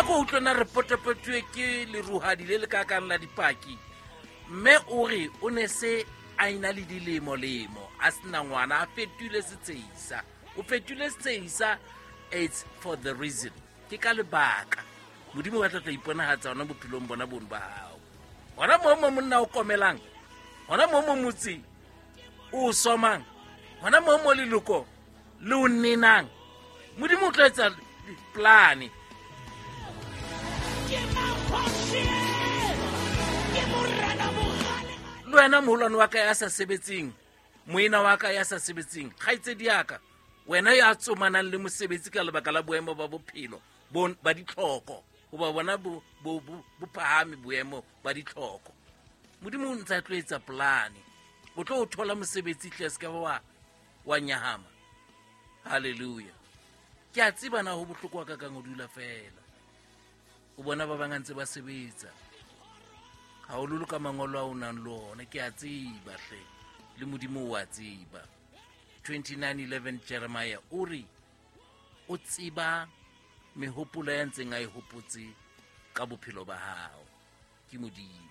ko utlwe na re potapotuwe ke leruhadi le le kakang la dipaki. Mme o re o ne se a ena le dilemo-lemo a sena ngwana, a fetohile setshehisa. O fetohile setshehisa, it's for the reason. Ke ka lebaka Modimo ba tla tla iponagatsa ona bophelong bona bono ba gago. Gona moo mo monna o komelang, gona moo mo motse o somang, gona moo mo leloko le o nenang, Modimo o tlo etsa plane. Le wena moholwane wa ka ya sa sebetseng, moena wa ka ya sa sebetseng, kgaitsedi yaka, wena ya tsomanang le mosebetsi ka lebaka la boemo ba bophelo ba ditlhoko, goba bona bo phahame boemo ba ditlhoko, Modimo o ntse a tlo etsa polane. O tlo o thola mosebetsi tle, se ka ba wa nyahama. Halleluja. Ke a tseba na ho bohloko wa ka kang o dula fela o bona ba bang a ntse ba sebetsa, hahololo ka mangolo a o nang le ona. Ke a tseba hle, le Modimo o a tseba. 29:11 Jeremiah o re o tseba mehopolo ya ntseng a e hopotse ka bophelo ba hao. Ke Modimo.